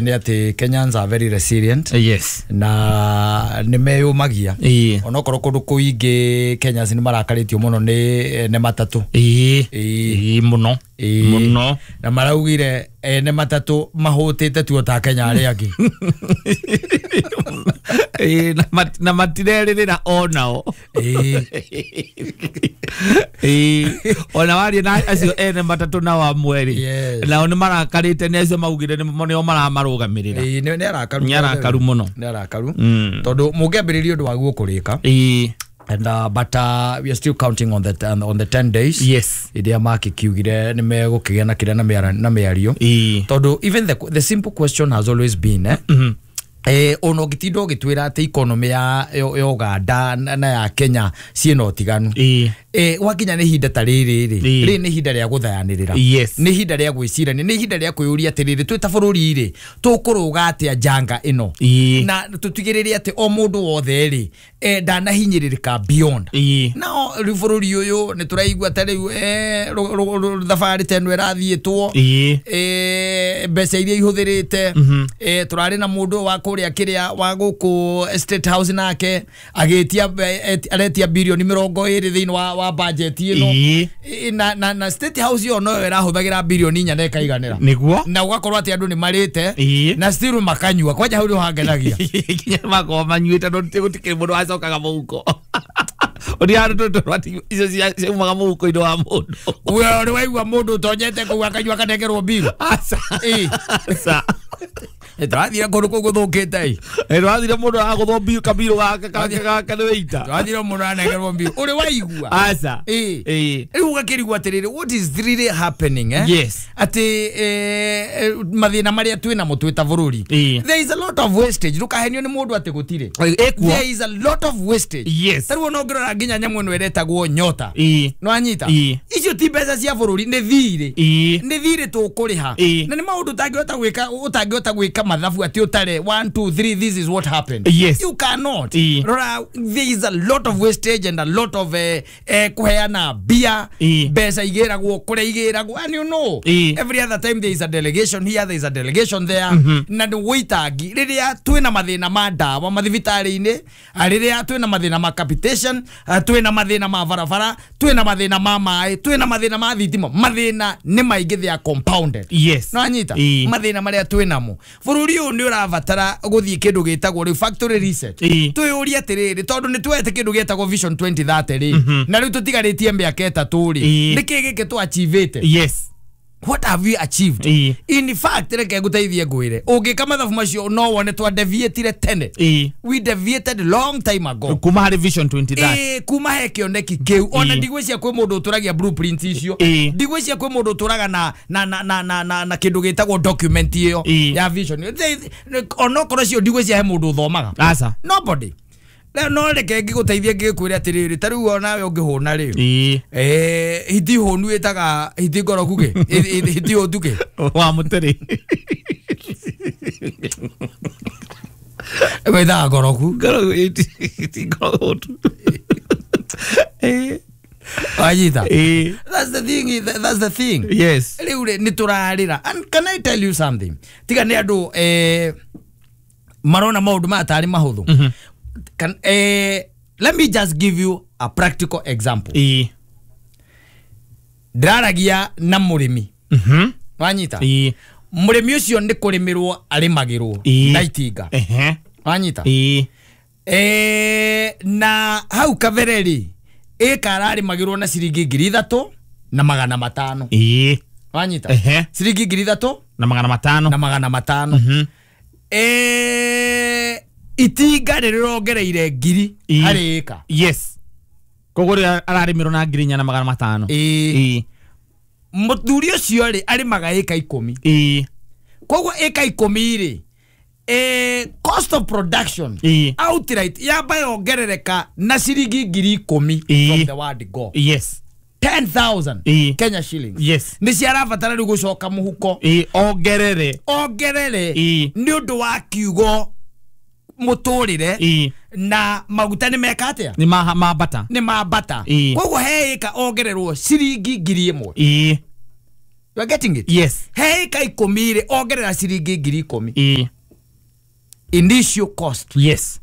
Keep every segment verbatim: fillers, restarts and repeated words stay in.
nĩ atĩ Kenyans are very resilient. Yes. Na nĩ meyũmagia. Ĩĩ. Onokorwo kũndũ kũingĩ Kenyans nĩ marakarĩtio mũno nĩ nĩ matatũ. Ĩĩ. Ĩĩ. Ĩĩ mũno. Ĩĩ. Mũno. Na maraugire ene matatũ mahũtĩte tu ota Kenya arĩa angĩ. Ĩĩ, na mat- na matirerĩrĩra onao. Ĩĩ. Ĩĩ, ona waria na acio ene matatũ nao amwe rĩ, Yes. nao nĩ marakarĩte nĩ acio maugire nĩ nĩo maramarũgamĩrĩra. Ĩĩ, nĩ nĩ arakaru. Nĩ arakaru mũno. Nĩ arakaru. Mm. Tondũ mũngĩambĩrĩria ũndũ waguo kũrĩka. Ĩĩ. And uh, but uh, we are still counting on the on the ten days. Yes. Iria makikiugire nĩ megũkĩgĩa na kĩrĩa na mĩara- na mĩario. Ĩĩ. Tondũ even the, the simple question has always been eh, Mhm. eh, ona ũngĩtinda ũgĩtwĩra atĩ economy ya, ya ya Uganda na na ya Kenya ciĩna ũtiganu. Ĩĩ. Eh, gwakinya nĩ ihinda ta rĩrĩ rĩ, Ĩĩ. rĩrĩ nĩ ihinda rĩa gũthayanĩrĩra. Yes. Nĩ ihinda rĩa gwĩcirania, nĩ ihinda rĩa kwĩyũria atĩrĩrĩ, twĩ ta bũrũri rĩ, tũkũrũga atĩa njanga ĩno. Ĩĩ. Na tũtigĩrĩre atĩ o mũndũ wothe rĩ, eh, ndanahinyĩrĩrĩka beyond. Ĩĩ. Nao rĩu bũrũri ũyũ nĩ tũraigua ta rĩu eh, rũ- rũ- rũ- thabarĩ ta ĩno ĩrathiĩtwo, Ĩĩ. eh, mbeca iria ihũthĩrĩte, eh, tũrarĩ na mũndũ wa kũrĩa kĩrĩa wa gũkũ State House nake agĩtia mbe- aretia birioni mĩrongo ĩrĩ thĩinĩ wa, wa budget ĩno. Ĩĩ. Ĩ- na, na, na State House ĩyo noyo ĩrahũthagĩra birioni inya na ĩkaiganĩra. Nĩguo. Na ũgakorwo atĩ andũ nĩ marĩte Ĩĩ. na still makanyua kwanja hau nĩho hangenagia. Nginya makorwo manyuĩte no gũtikĩrĩ mũndũ wacokaga mũhuko. Ũrĩa andũ tũtũ atĩ icio cia- ciaumaga mũhuko-inĩ wa mũndũ. We ũrĩ waigua mũndũ ũtonyete kũu akanyua akanengerwo mbiru? Aca. Ĩĩ. Aca. Tũrathire kũndũ kũu gũthũkĩte ĩ. Ĩ, ndũrathire mũndũ aragũthwo mbiru kabiru gake gake gake nĩ wĩita. Tũrathire mũndũ aranengerwo mbiru. Ũrĩ waigua? Aca. Ĩĩ. Ĩĩ. Rĩu ũgakĩrigwo atĩrĩrĩ, what is really happening, eh? Yes. Atĩ eh, eh, mathĩna marĩa twĩ namo twĩ ta bũrũri. Ĩĩ. There is a lot of wastage. Ndũkahenio nĩ mũndũ atĩ gũtirĩ. Ĩkuo. There is a lot of wastage. Yes. Ta rĩu ona ũngĩrora nginya nyamũ ĩno ĩretagwo nyota. Ĩĩ. Nĩwanyita? Ĩĩ. Icio ti mbeca cia bũrũri, nĩ thirĩ. Ĩĩ. Nĩ thirĩ tũkũrĩha. Ĩĩ. Na nĩ maũndũ ũtangĩhota gwĩka ũtangĩhota gwĩka mathabu atĩ ũtare one two three, this is what happened. Yes. You cannot. Ĩĩ. Rora, there is a lot of wastage and a lot of eh, eh, kũheana mbia. Ĩĩ. Mbeca igĩragwo kũrĩa igĩragwo, and you know Ĩĩ. every other time there is a delegation here, there is a delegation there. Na nĩ wĩitangi rĩrĩa twĩna mathĩna ma ndawa mathibitarĩ-inĩ, ah, rĩrĩa twĩna mathĩna ma capitation, ah, twĩna mathĩna ma barabara, twĩna mathĩna ma maĩ, twĩna mathĩna ma thitima, mathĩna nĩ maingĩ, they are compounded. Yes. Nĩwanyita? Ĩĩ. Mathĩna marĩa twĩ namo, bũrũri ũyũ nĩ ũrabatara gũthiĩ kĩndũ gĩtagwo rĩu factory reset. Ĩĩ. Twĩyũrie atĩrĩrĩ, tondũ nĩ tuoete kĩndũ gĩtagwo Vision twenty thirty rĩ, na rĩu tũtigarĩtie mĩaka ĩtatũ rĩ, Ĩĩ. nĩkĩ gĩkĩ tũ-achievĩte? Yes. What have we achieved? Ĩĩ. In fact, reke ngũteithie ngwĩre, ũngĩka mathabu macio no wone twa deviatire tene. Ĩĩ. We deviated long time ago. Kuma harĩ Vision twenty thirty. Ĩĩ, kuma he kĩoneki kĩu ona Ĩĩ. ndigwĩcia kwĩ mũndũ ũtũragia blueprint icio. Ĩĩ. Ndigwĩcia kwĩ mũndũ ũtũraga na na na na na na, na kĩndũ gĩtagwo document ĩyo Ĩĩ. ya vision. Onokorwo cio ndigwĩcia he mũndũ ũthomaga. Aca. Nobody. Rĩu no reke ngĩgũteithie ngĩkwĩre atĩrĩrĩ, ta rĩu onawe ũngĩhũna rĩ, Ĩĩ. eh, hiti hũnu ĩtaga hiti ngoroku kĩ hiti hũtu kĩ Wa mũtĩrĩ. ĩtaga ngoroku. Ngoroku hiti ngoroku. Ĩĩ. Wanyita? Ĩĩ. That's the thing, that's the thing. Yes. Rĩu rĩ nĩ tũrarĩra, and can I tell you something, tiga nĩ andũ eh, marona maũndũ maya tarĩ mahũthũ. Can, eh, let me just give you a practical example. Ĩĩ. Ndĩraragia na mũrĩmi. Mhm. Wanyita? Ĩĩ. Mũrĩmi ũcio nĩ kũrĩmĩrwo arĩmagĩrwo Ĩĩ. na itinga. Ehe. Wanyita? Ĩĩ. Eh, na hau kabere rĩ, ĩka ararĩmagĩrwo na ciringi ngiri ithatũ na magana matano. Ĩĩ. Wanyita? Ehe. Ciringi ngiri ithatũ Na magana matano. na magana matano. Mhm. Eh, itinga nĩ rĩrongereire ngiri Ĩĩ. harĩ ĩka. Yes. Koguo rĩrĩa ararĩmĩrwo na ngiri inya na magana matano. Ĩĩ. Ĩĩ. Mũthuri ũcio rĩ arĩmaga ĩka ikũmi. Ĩĩ. Koguo ĩka ikũmi rĩ, eh, cost of production Ĩĩ. outright yamba yongerereka na ciringi ngiri ikũmi Ĩĩ. from the word go. Yes. ten thousand Ĩĩ. Kenya shillings. Yes. Nĩ ciarabatara rĩu gũcoka mũhuko. Ĩĩ, ongerere. Ongerere Ĩĩ. nĩ ũndũ wa kiugo mũtũrĩre Ĩĩ. na maguta nĩ meka atĩa? Nĩ ma mambata. Nĩ mambata. Ĩĩ. Koguo he ĩka ongererwo ciringi ngiri ĩmwe. Ĩĩ. You are getting it? Yes. He ĩka ikũmi rĩ, ongerera ciringi ngiri ikũmi. Ĩĩ. Initial cost Yes.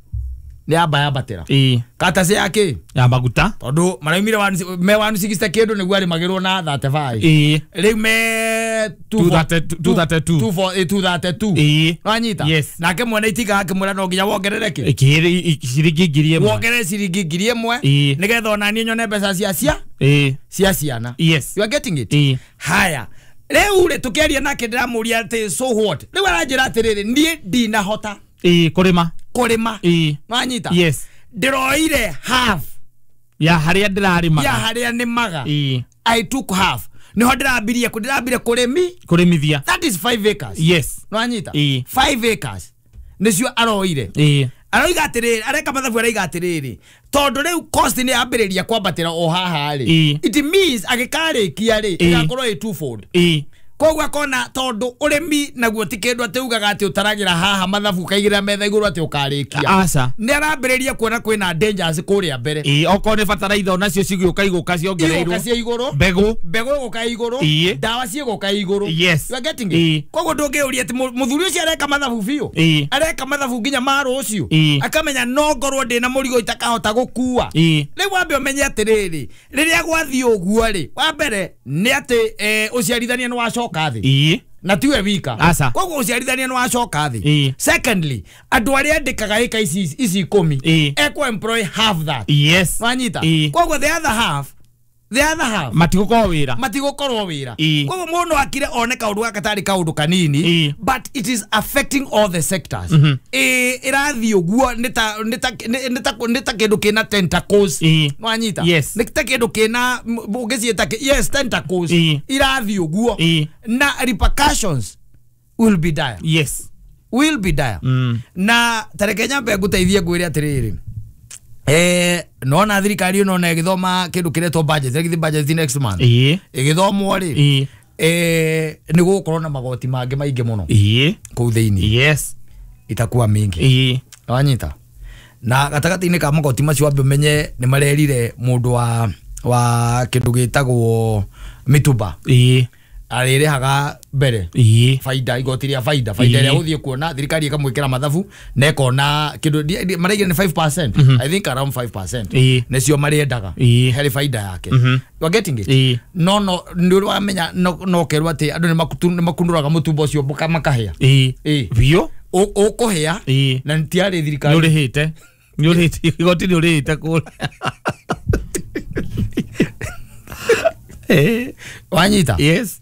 nĩ yamba yambatĩra. Ĩĩ. Katacĩ ya kĩ? Ya maguta. Tondũ maraumire one- me one sixty kĩndũ nĩguo arĩmagĩrwo na thirty-five. Ĩĩ. Rĩu me two thirty-two. two thirty-two. Ĩĩ. Wanyita? Yes. Nake mwene itinga akĩmwĩra no nginya wongerere kĩ? Ĩkĩrĩ ciringi ngiri ĩmwe. Wongerere ciringi ngiri ĩmwe Ĩĩ. nĩgetha onaniĩ nyone mbeca cia cia Ĩĩ. cia ciana. Yes. You are getting it? Ĩĩ. Haya, rĩu rĩ tũkĩaria nake ndĩramũria atĩ so what, rĩu aranjĩra atĩrĩrĩ, niĩ ndinahota Ĩĩ, kũrĩma. kũrĩma. Ĩĩ. Wanyita? Yes. Ndĩroire half Ya harĩa ndĩrarĩmaga. ya harĩa nĩmaga. Ĩĩ. I took half, niho ndĩrambirie ndĩrambire kũrĩmi. Kũrĩmithia. That is five acres. Yes. Nwanyita? Ĩĩ. Five acres nĩcio aroire. Ĩĩ. Aroiga atĩrĩrĩ, areka mathabu, araiga atĩrĩrĩ, tondũ rĩu cost nĩ yambĩrĩria kwambatĩra o haha rĩ, Ĩĩ. it means agĩkarĩkia rĩ, Ĩĩ. ĩgakorwo ĩ twofold. Ĩĩ. Koguo akona tondũ ũrĩmi naguo ti kĩndũ atĩ ugaga atĩ ũtaragĩra haha mathabu ũkaigĩrĩra metha igũrũ atĩ ũkarĩkia. Aca. Nĩ arambĩrĩria kuona kwĩna dangers kũrĩa mbere. Ĩĩ, okorwo nĩ bataraitha onacio cigĩũka igũka ciongereirwo. Igũka cia igũrũ. Mbegũ. Mbegũ ĩgũka igũrũ. Ĩĩ. Ndawa ciĩgũka igũrũ. Yes. You are getting Ĩĩ. it? Koguo ndũngĩũria atĩ mũ- mũthuri ũcio areka mathabu biũ. Ĩĩ. Areka mathabu nginya ma rũciũ. Ĩĩ. Akamenya no ngorwo ndĩna mũrigo itakahota gũkua. Ĩĩ. Rĩu wambe ũmenye atĩrĩrĩ, rĩrĩa gwathiĩ ũguo rĩ, wa mbere nĩ atĩ eh, ũciarithania nĩ wacoka thĩ. Ĩĩ. Na tiwe wika. Aca. Koguo ũciarithania nĩ wacoka thĩ. Ĩĩ. Secondly, andũ arĩa andĩkaga ĩka ici ici ikũmi, Ĩĩ. ekũ employ half that. Yes. Wanyita? Ĩĩ. Koguo the other half, the other half Matigũkorwo wĩra. matigũkorwo wĩra. Ĩĩ. Koguo mũndũ akire one kaũndũ gaka tarĩ kaũndũ kanini, Ĩĩ. but it is affecting all the sectors. Ĩĩ, ĩrathiĩ ũguo nĩ ta nĩ ta nĩ ta nĩ ta kĩndũ kĩna tentacles. Ĩĩ. Nwanyita? Yes. Nĩ ta kĩndũ kĩna ũngĩciĩta kĩ- yes, tentacles. Ĩĩ. Irathiĩ ũguo. Ĩĩ. Na repercussions will be dire. Yes. Will be dire. Mm. Na tareke nyambe ngũteithie ngwĩre atĩrĩrĩ, eh nona thirikari ĩno na ĩgĩthoma kĩndũ kĩretwo budget, ĩgĩthiĩ budget next month. Ĩĩ. Ĩgĩthomwo rĩ, Ĩĩ. eh nĩ gũgũkorwo na magoti mangĩ maingĩ mũno Ĩĩ. kũu thĩinĩ. Yes. Itakuwa mingi. Ĩĩ. Wanyita? Na gatagatĩ-inĩ ka magoti macio wambe ũmenye nĩ marerire mũndũ wa wa kĩndũ gĩtagwo mĩtumba Ĩĩ. arĩrĩhaga mbere Ĩĩ. baida, igoti rĩa baida, baida Ĩĩ. ĩrĩa ũthiĩ kuona thirikari ĩkamwĩkĩra mathabu na ĩkona kĩndũ maraigire nĩ five percent, I think around five percent Ĩĩ. nĩcio marĩendaga Ĩĩ. harĩ baida yake. Mhm. You are getting it? Ĩĩ. No no nĩ ũrĩ wamenya no no ũkerwo atĩ andũ nĩ makutu- nĩ makunũraga mũtumba ũcio mũka- makahĩa. Ĩĩ. Ĩĩ. Biũ. Ũ- ũkũhĩa Ĩĩ. na tiarĩ Nĩ thirikari. ũrĩhĩte. Nĩ ũrĩhĩte. Igoti nĩ ũrĩhĩte kũrĩa. Ĩĩ. Wanyita? Yes.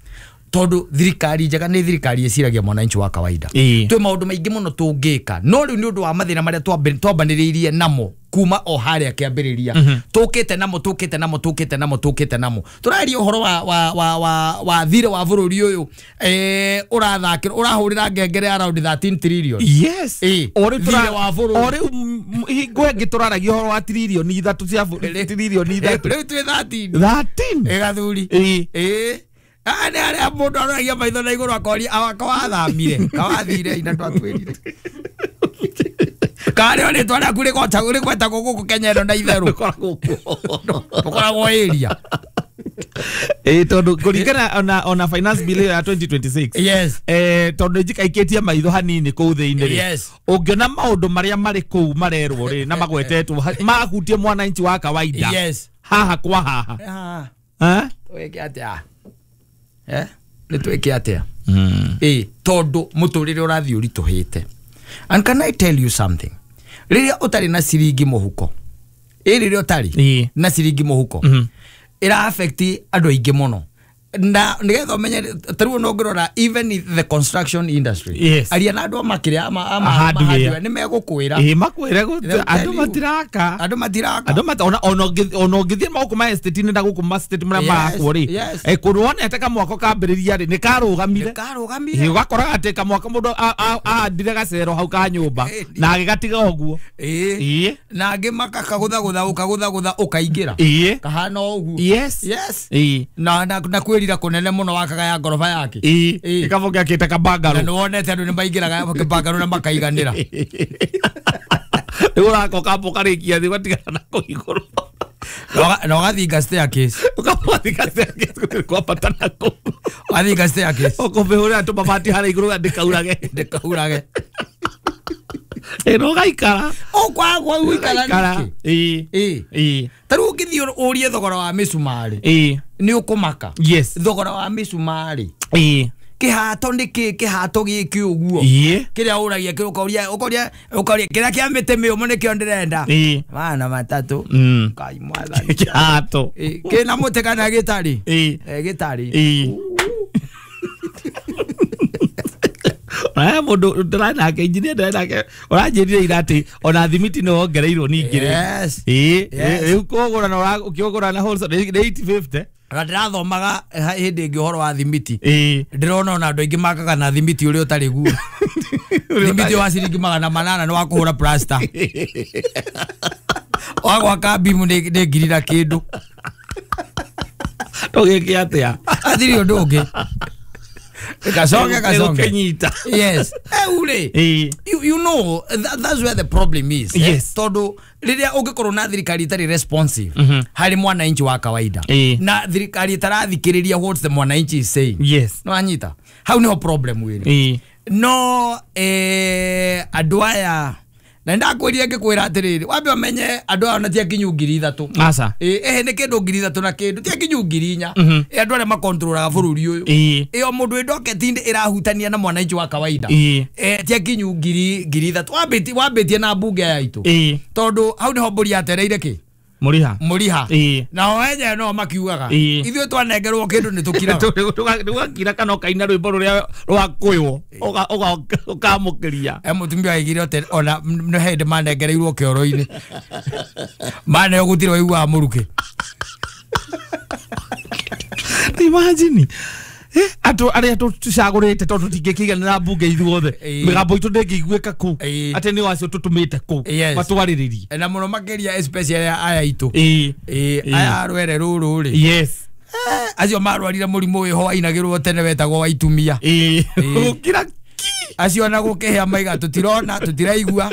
Tondũ thirikari njega nĩ thirikari ĩciragia mwananchi wa kawaida. Ĩĩ. Twĩ maũndũ maingĩ mũno tũngĩka, no rĩu nĩ ũndũ wa mathĩna marĩa twambe- twambanĩrĩirie namo kuma o harĩa kĩambĩrĩria, tũkĩte namo tũkĩte namo tũkĩte namo tũkĩte namo, tũraria ũhoro wa wa wa wa wa thirĩ wa bũrũri ũyũ, eh ũrathakĩra ũrahũrĩra ngengere around thirteen trillion. Yes. Ĩĩ. O rĩu tũra- Thirĩ wa bũrũri. o rĩu m- hingo ĩngĩ tũraragia ũhoro wa tiririoni ithatũ cia bũ- tiririoni ithatũ. Rĩu twĩ thirteen. Thirteen. Ĩgathuri. Ĩĩ. Ĩĩ. Ah, nĩ harĩa mũndũ aroragia maitho na igũrũ akoria awa kawathamire kawathire ina twatwĩrire karĩ o rĩtwa rĩaku rĩgwetagwo gũkũ Kenya ĩno na itherũ Ũkoragwo kuo. ũkoragwo area. Ĩĩ, tondũ kũringana ona ona finance bill ĩyo ya twenty twenty-six, Yes. eh tondũ njikaikĩtie maitho hanini kũu thĩinĩ rĩ, Yes. ũngĩona maũndũ marĩa marĩ kũu marerwo rĩ na magwetetwo ha- mahutie mwananchi wa kawaida, Yes. haha kwa haha. Ah, Eh? twĩke atĩa? Eh? Nĩ twĩke atĩa? Ĩĩ, tondũ mũtũrĩre ũrathiĩ ũritũhĩte. And can I tell you something? Rĩrĩa ũtarĩ na ciringi mũhuko, ĩ rĩrĩa ũtarĩ Ĩĩ. na ciringi mũhuko, Mhm. ĩra affect andũ aingĩ mũno. Na nĩgetha ũmenye ta rĩu ona ũngĩrora even in the construction industry, Yes. aria na andũ a makĩrĩa ama- ama- Hardware. ama hardware, nĩ megũkwĩra. Ĩĩ, makwĩre gũ- They'll tell andũ you. matiraka. Andũ matiraka. Andũ mata ona ona ũngĩ- ona ũngĩthiĩ magũkũ ma estate-inĩ na gũkũ ma estate marĩa Yes, marakwo rĩ, yes. eh, kũndũ wonete kamwako kambĩrĩria rĩ, nĩ karũgamire. Nĩ karũgamire. Ĩĩ, ũgakoraga atĩ kamwako mũndũ a- a- ahandire gacero hau ka nyũmba Ĩĩ. na agĩgatiga ũguo. Ĩĩ. Ĩĩ. Na angĩ makakagũthagũtha ũkagũthagũtha ũkaingĩra Ĩĩ. kahana o ũguo. Yes. Yes. Ĩĩ. Na na na kwĩrira kũnene mũno wakaga ya ngoroba yake. Ĩĩ. Ĩĩ. Ĩkabonge akĩte Na kabangarũ. nĩ wonete andũ nĩ maingĩraga kĩbangarũ na makaiganĩra. Rĩu ũraka ũkamba ũkarĩkia thĩ ũgatigana na kũu igũrũ. Na ũgathinga staircase. Ũkamũthinga staircase gũtirĩ kwambata nako. Wathinga staircase. Ũkũmĩhũrĩra tũmabati harĩa igũrũ ndĩkaurage. Ndĩkaurage. Ĩno ũgaikara. Ũkwagwa gũikara nĩkĩ? Ĩĩ. Ĩĩ. Ta rĩu ũngĩthiĩ ũrie thogora wa mĩcumarĩ. Ĩĩ. Nĩ ũkũmaka. Yes. Thogora wa mĩcumarĩ. Ĩĩ. Kĩhato nĩ kĩ kĩhato gĩkĩ ũguo. Ĩĩ. Kĩrĩa ũragia kĩ ũkoria ũkoria ũkoria kĩrĩa kĩa mĩtĩ mĩũmũ nĩkĩo ndĩrenda. Ĩĩ. Mana matatũ. Mm. Ngai mwathani. Kĩhato. Ĩĩ. Kĩna mũtĩ kana gĩtarĩ? Ĩĩ. Eh gĩtarĩ. Ĩĩ. Aya mũndũ ndĩrarĩ nake engineer ndĩrarĩ nake ũranjĩrire ira atĩ ona thimiti nĩ wongereirwo ningĩ rĩ. Yes. Ĩĩ. Yes. Rĩu kũgũra na ũkĩũgũra na wholesale nĩ eight fifty. Na ndĩrathomaga hĩndĩ ĩngĩ ũhoro wa thimiti. Ĩĩ. Ndĩrona ona andũ aingĩ makaga na thimiti ũrĩa ũtarĩ guo. Thimiti wa ciringi magana manana nĩ wa kũhũra plaster. Wa gwaka bimu nĩ ngiri na kĩndũ. Tũgĩke atĩa? Hatirĩ ũndũ ũngĩ. Kasonge kasonge. Kenyita. Yes. Eh ule. You you know that, that's where the problem is. Yes. Tondu riria ungikorwo na thirikari itari responsive mm -hmm. hari mwananchi wa kawaida. E. Na thirikari itarathikiriria what the mwananchi is saying. Yes. No anyita. Hau niho problem wiri. E. No eh andu aya na ndakwĩrire ngĩkwĩra atĩrĩrĩ wambe ũmenye andũ aya ona ti akinyu ngiri ithatũ. Aca. Ĩ ĩhĩ nĩ kĩndũ ngiri ithatũ na kĩndũ ti akinyu ngiri inya. Ĩ andũ arĩa makontrolaga bũrũri ũyũ. Ĩ o mũndũ wĩ docket-inĩ ĩrahutania na mwananchi wa kawaida. Ĩ ti akinyu ngiri ngiri ithatũ wambĩtie wambĩtie na mbunge ya itũ. Ĩ tondũ hau nĩho mbũri yatereire kĩ Mũriha. Mũriha. Ĩ nao enyewe no makiugaga ithuĩ twanengerwo kĩndũ nĩ tũkiraga. Tũgakira kana ũkaina rwĩmbo rũrĩa rwakũywo ũkamũkĩria. E mũtumia aigire atĩ ona nĩ hĩndĩ manengereirwo kĩoro-inĩ maneo gũtirĩ waiguaga mũrukĩ. Imagine andũ arĩa tũcagũrĩte tondũ tũtingĩkĩiganĩra mbunge ithuothe mĩgambo itũ ndĩngĩiguĩka kũu atĩ nĩ acio tũtũmĩte kũu matwarĩrĩrie na mũno makĩria especially aya itũ ĩĩ aya rwere rũrũ rĩ. Yes. Acio marwarire mũrimũ wĩho wainagĩrwo tene wetagwo wa itumia. Ĩĩ gũkira ki acio ona gũkĩhĩa maiga tũtirona tũtiraigua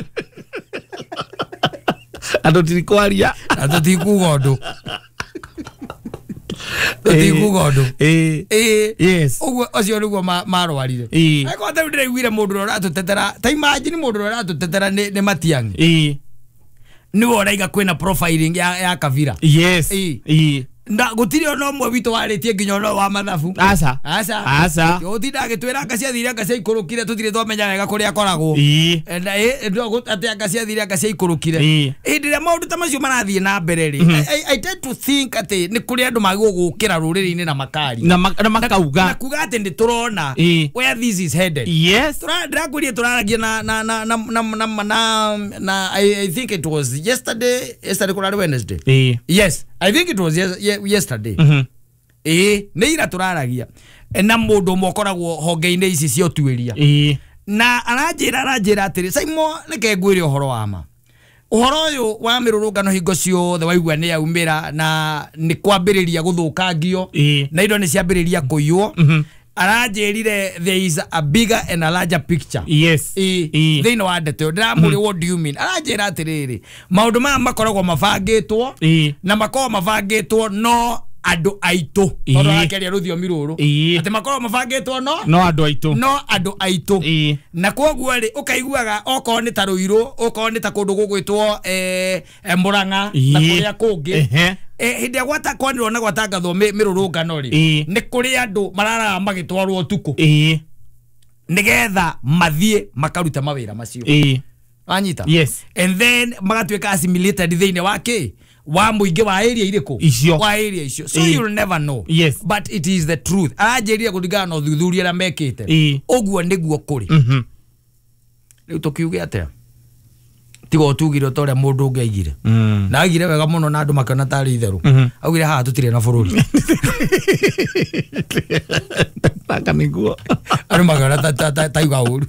andũ tirikwaria na tũtikuga ũndũ tũtikuga ũndũ. Ĩĩ yes. Ũguo ũcio nĩguo marwarire. Ĩĩ angĩkorwo ta rĩu ndĩraiguire mũndũ ũrĩa ũratũtetera ta imagine mũndũ ũrĩa ũratũtetera nĩ Matiang'i. Ĩĩ nĩwe ũraiga kwĩna profiling ya ya Kavira. Yes. Ĩĩ na gũtirĩ ona ũmwe witũ warĩtie nginya ona wa mathabu. Aca. Aca. Aca. Gũtinda agĩtwĩra anga ciathire anga ciaikũrũkire tũtirĩ twamenya wega kũrĩa akoragwo. Ĩĩ na atĩ anga ciathire anga ciaikũrũkire. Ĩĩ hĩndĩ ĩrĩa maũndũ ta macio marathiĩ na mbere rĩ I tend to think atĩ nĩ kũrĩ andũ magĩrĩirwo gũkĩra rũrĩrĩ-inĩ na makaria na makauga na kuga atĩ nĩ tũrona where this is headed. Yes. Ndĩrakwĩrire tũraragia na na na na na na na I think it was yesterday yesterday kũrarĩ Wednesday. Ĩĩ yes I think it was yes, yesterday. Mm-hmm. Eh, nĩ ira tũraragia na mũndũ ũmwe ũkoragwo honge-inĩ ici cia ũtuĩria. Ĩĩ na aranjĩra aranjĩra atĩrĩ Simon reke ngwĩre ũhoro wa ma ũhoro ũyũ wa mĩrũrũngano hingo ciothe waigua nĩ yaumĩra na nĩ kwambĩrĩria gũthũkangio na indo nĩ ciambĩrĩria kũiywo. Mm-hmm. Aranjĩrire there is a bigger and a larger picture. Yes. Ĩĩ thĩinĩ wa ndeto ĩyo ndĩramũria what do you mean. Aranjĩra atĩrĩrĩ maũndũ maya makoragwo mabangĩtwo na makoragwo mabangĩtwo no andũ aitũ tondũ arakĩaria rũthiomi rũrũ atĩ makoragwo mabangĩtwo no no andũ aitũ no andũ aitũ na kwoguo rĩ ũkaiguaga okorwo nĩ ta Rũirũ okorwo nĩ ta kũndũ gũgwĩtwo eh Murang'a na kũrĩa kũngĩ hĩndĩ ĩrĩa gwata kwanĩrwo na gwatangathwo mĩrũrũngano rĩ nĩ kũrĩ andũ mararaga magĩtwarwo ũtukũ nĩgetha mathiĩ makaruta mawĩra macio. Wanyita? Yes. And then magatuĩka assimilated thĩinĩ wa kĩ wa mũingĩ wa area irĩkũ icio wa area icio so you'll never know. Yes. But it is the truth. Aranjĩrire kũringana na ũthuthuria ũrĩa mekĩte ũguo nĩguo kũrĩ. Rĩu tũkiuge atĩa tiga ũtugire ta ũrĩa mũndũ ũngĩ aigire na aigire wega mũno na andũ makĩona tarĩ itherũ augire haha tũtirĩ na bũrũri Taka nĩguo andũ makĩona taiga ũru.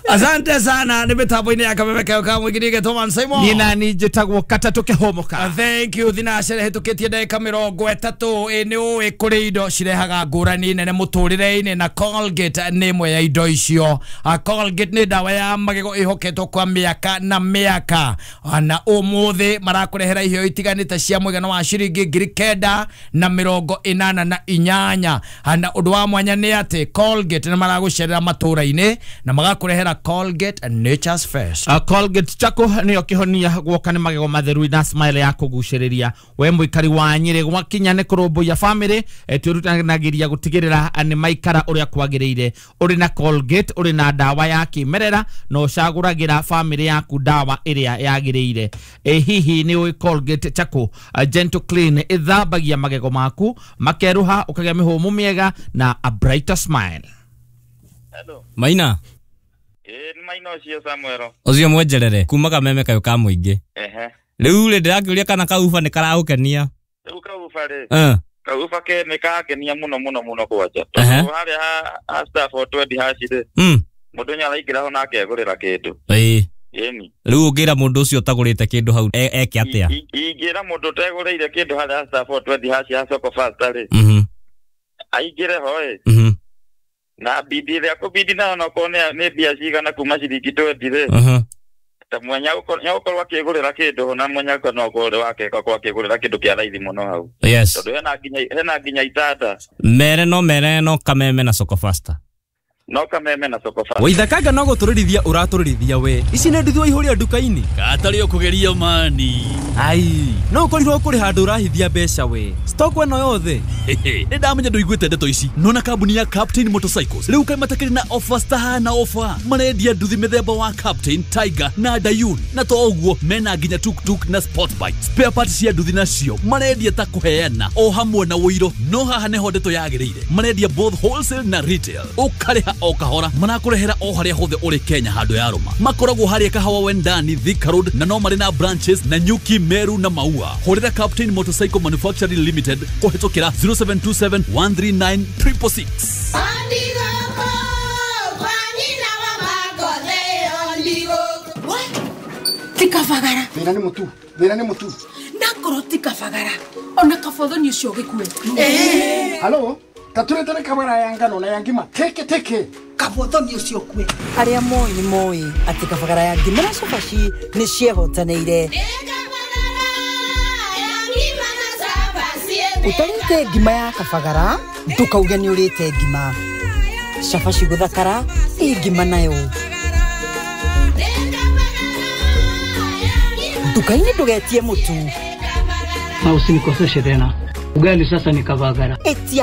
Asante sana nä mä tambo-inä ya kameme kayo ka må ingä Thomas Simon. Niĩ nani njĩtagwo Katatũ Kĩhũmũka. Thank you. Thinacara hĩtũkĩtie ndagĩka mĩrongo ĩtatũ. Ĩ nĩ ũĩ kũrĩ indo cirehaga ngũrani nene mũtũrĩre-inĩ na Colgate nĩ ĩmwe ya indo icio. Colgate nĩ ndawa ya magego ĩhoketwo kwa mĩaka na mĩaka, na ũmũthĩ marakũrehera iheo itiganĩte cia mũigana wa ciringi ngiri kenda na mĩrongo ĩnana na inyanya. Na ũndũ wa mwanya nĩ atĩ Colgate nĩ maragũcerera matũra-inĩ na magakũrehera Colgate Nature's First. Uh, Colgate chako nĩyo kĩhonia guoka nĩ magego matheru na smile ya kũgucĩrĩria. We mũikari wa Nyĩrĩ gwakinya nĩ kũrũmbũiya family, twĩrutanagĩria gũtigĩrĩra nĩ maikara ũrĩa kwagĩrĩire. Ũrĩ na Colgate ũrĩ na ndawa ya kĩmerera na ũcagũragĩra family yaku ndawa ĩrĩa yagĩrĩire. E, hihi nĩ ũĩ Colgate chako uh, gentle clean ĩthambagia magego maku makeruha ũkagĩa mĩhũmũ mĩega na a brighter smile. Hello. Maina. Eh, maina ucio Samuel. Ucio mwenjerere kuma kameme kayo ka muingi. Ehe. Riu ri ndirakiuria kana kauba ni karagukenia. Riu kauba ri. Eh. Kauba ke ni kangenia muno muno muno kwanja. Tondu haria ha staff twenty haci ri. Mm. Mundu ni araingira ho na akegurira kindu. Ii. Ĩni. Riu ungira mundu ucio utagurite kindu hau eke atia? Ingira mundu utegurire kindu haria staff twenty haci ha soko fast ri. Mhm. Aingire ho ĩ. Mhm. Na bidi ria kubidi na no kone ni bia cigana kuma ciringi twenty ri. Mhm. Ta mwenya ukorwo akigurira kindu na mwenya no ukorwo wake kwa akigurira kindu kia raithi muno hau. Yes. Tondu hena nginya hena nginya itanda. Mere no mere no kameme na soko faster. No kameme na soko faster. Waithakanga no gutururithia uratururithia we. Ici nĩ nduthi waihũria nduka-inĩ. Katarĩ ũkũgeria mani. Ai, no ũkorirwo kũrĩ handũ ũrahithia mbeca we. Stock ĩno yothe. Nĩ ndamenya ndũiguĩte ndeto ici. Nona kambuni ya Captain Motorcycles rĩu kaĩ matakĩrĩ na offers tahana offer. Marendia nduthi mĩthemba wa Captain, Tiger na Dayun. Na to ũguo mena nginya tuk-tuk na sport bike. Spare parts cia nduthi nacio marendia ta kũheana o hamwe na ũiro. No haha nĩho ndeto yagĩrĩire. Marendia both wholesale na retail. Ũkarĩha o kahora marakũrehera o harĩa hothe ũrĩ Kenya handũ ya Roma. Makoragwo harĩa Kahawa Wendani, Thika Road na no marĩ na branches na Nyuki, Meru na Maua. Hũrĩra Captain Motorcycle Manufacturing Limited kũhĩtũkĩra zero seven two seven one three nine triple six. Tikabagara. Thĩna nĩ mũtu, thĩna nĩ mũtu. Nakorwo tikabagara. Ona kabothoni ũcio gĩkue. Eh. Halo? Taturetere kabara ya ngano na ya ngima teke teke kabothoni ucio kwe aria moi ni moi ati kabagara ya ngima na cabaci ni ciehotanĩire. Utarĩte ngima ya kabagara ndukauge ni urĩte ngima. Cabaci guthakara ĩ ngima nayo. Nduka-inĩ ndũgetie mũtu na usinikoseshe tena. Ugali sasa ni kabagara. Etia